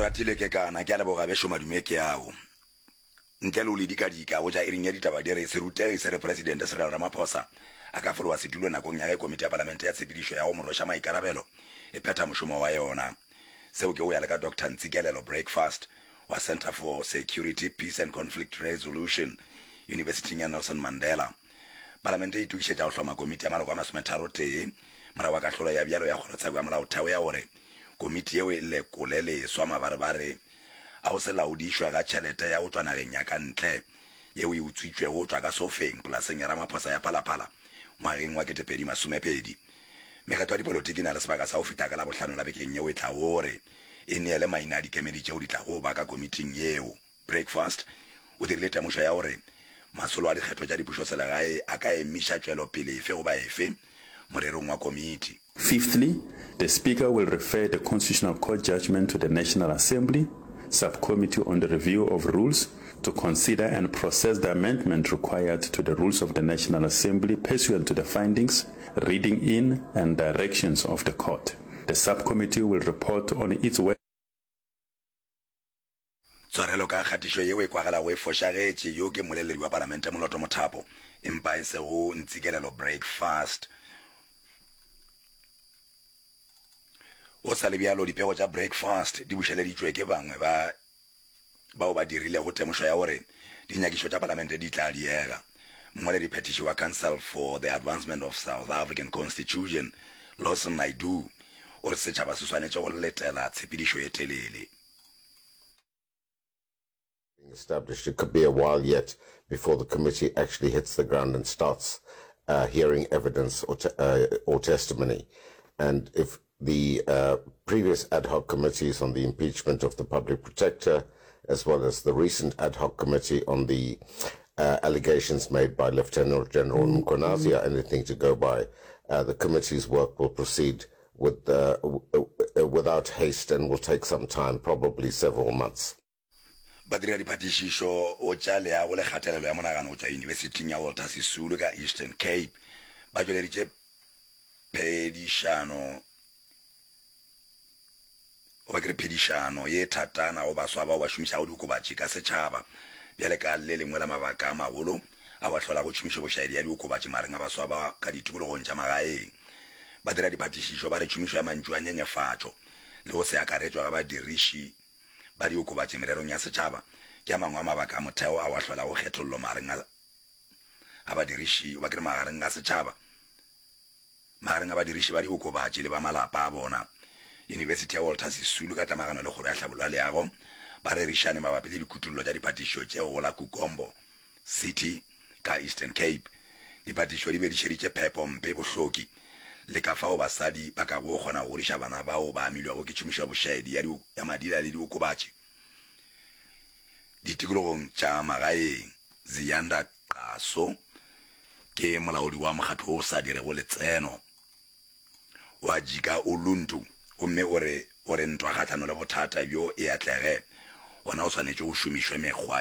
Oratile Kekana, Ke a leboga bešo madume ke ao. Ntle le go le dikadika, go tša iring ya ditaba di re serutegi se re Presidente Cyril Ramaphosa a ka fologa setulo nakong ya ge komiti ya palamente ya tshepedišo ya go mo rweša maikarabelo e phetha mošomo wa yona. Seo ke go ya le ka Doctor Ntsikelelo Breakfast wa Centre for Security, Peace and Conflict Resolution Yunibesithing ya Nelson Mandela. Palamente e itokišetša go hloma komiti ya maloko a masometharotee morago ga kahlolo ya bjalo ya Kgorotsheko ya Molaotheo ya gore komiti yeo e lekole leswa mabarebare a go se laodišwe ga tšhelete ya go tšwa nageng ya ka ntle yeo e utswitšwego go tšwa ka sofeng polaseng ya Ramaphosa ya Phalaphala ngwageng wa 2020. Mekgatlo ya dipolotiki e na le sebaka sa go fihla ka Labohlano la bekeng yeo e tlago gore e neele maina a dikemedi tšeo di tlago ba ka komiting yeo. Breakfast o dirile temošo ya gore masolo a dikgetho tša dipušoselegae a ka emiša tšwelopele efe goba efe morerong wa komiti. Fifthly, the Speaker will refer the Constitutional Court judgment to the National Assembly Subcommittee on the Review of Rules to consider and process the amendment required to the rules of the National Assembly pursuant to the findings, reading in and directions of the court. The subcommittee will report on its work. Tshwarelo ka kgatišo yeo e kwagalago e fošagetše, yo ke mmoleledi wa Palamente Moloto Mothapo, empa e sego Ntsikelelo Breakfast. Go sa le bjalo, dipego tša Breakfast di bušeleditšwe ke bangwe ba bao ba dirilego temošo ya gore dinyakišo tša Palamente di tla diega. Mongwalediphethiši wa Council for the Advancement of South African Constitution, Lawson Naidoo, o re setšhaba se swanetše go letela tshepedišo ye telele. Established, it could be a while yet before the committee actually hits the ground and starts uh, hearing evidence or, te- uh, or testimony. And if the uh, previous ad hoc committees on the impeachment of the public protector, as well as the recent ad hoc committee on the uh, allegations made by Lieutenant General Mkhwanazi are anything to go by, uh, the committee's work will proceed with, uh, uh, without haste and will take some time, probably several months. Badiradiphatišišo go tša leago le kgatelelo ya monagano go tšwa Yunibesithing ya Walter Sisulu ka Eastern Cape ba tšweleditše phedišano goba ke re phedišano ye thatana go baswa bao ba šomišago diokobatši ka setšhaba bjale ka le lengwe la mabaka a magolo ao a hlolago tšhomišobošaedi ya diokobatši magareng a baswa ba ka ditikologong tša magaeng. Badiradiphatišišo ba re tšhomišo ya mantšu a nyenyefatšo le go se akaretšwa ga badiriši ba diokobatši mererong ya setšhaba ke a mangwe a mabaka a motheo ao a hlolago kgethollo magareng a badiriši goba ke re magareng ga setšhaba, magareng a badiriši ba diokobatši le ba malapa a bona. Yunibesithi ya Walter Sisulu ka tlamagano le Kgoro ya Tlhabollo ya Leago ba rerišane mabapi le dikutollo tša diphatišišo tšeo go la Kukombo City ka Eastern Cape. Diphatišišo di be di šeditše phepo mpe, bohloki le ka fao basadi ba kago kgona go godiša bana bao ba amilwego ke tšhomišo ya bošaedi ya ya madila le diokobatši ditikologong tša magaeng. Ziyanda Qaso ke molaodi wa mokgatlo wo o sa dirego letseno wa Jika Uluntu gomme o re gore ntwa kgahlano le bothata bjo e atlege, gona go swanetše go šomišwe mekgwa.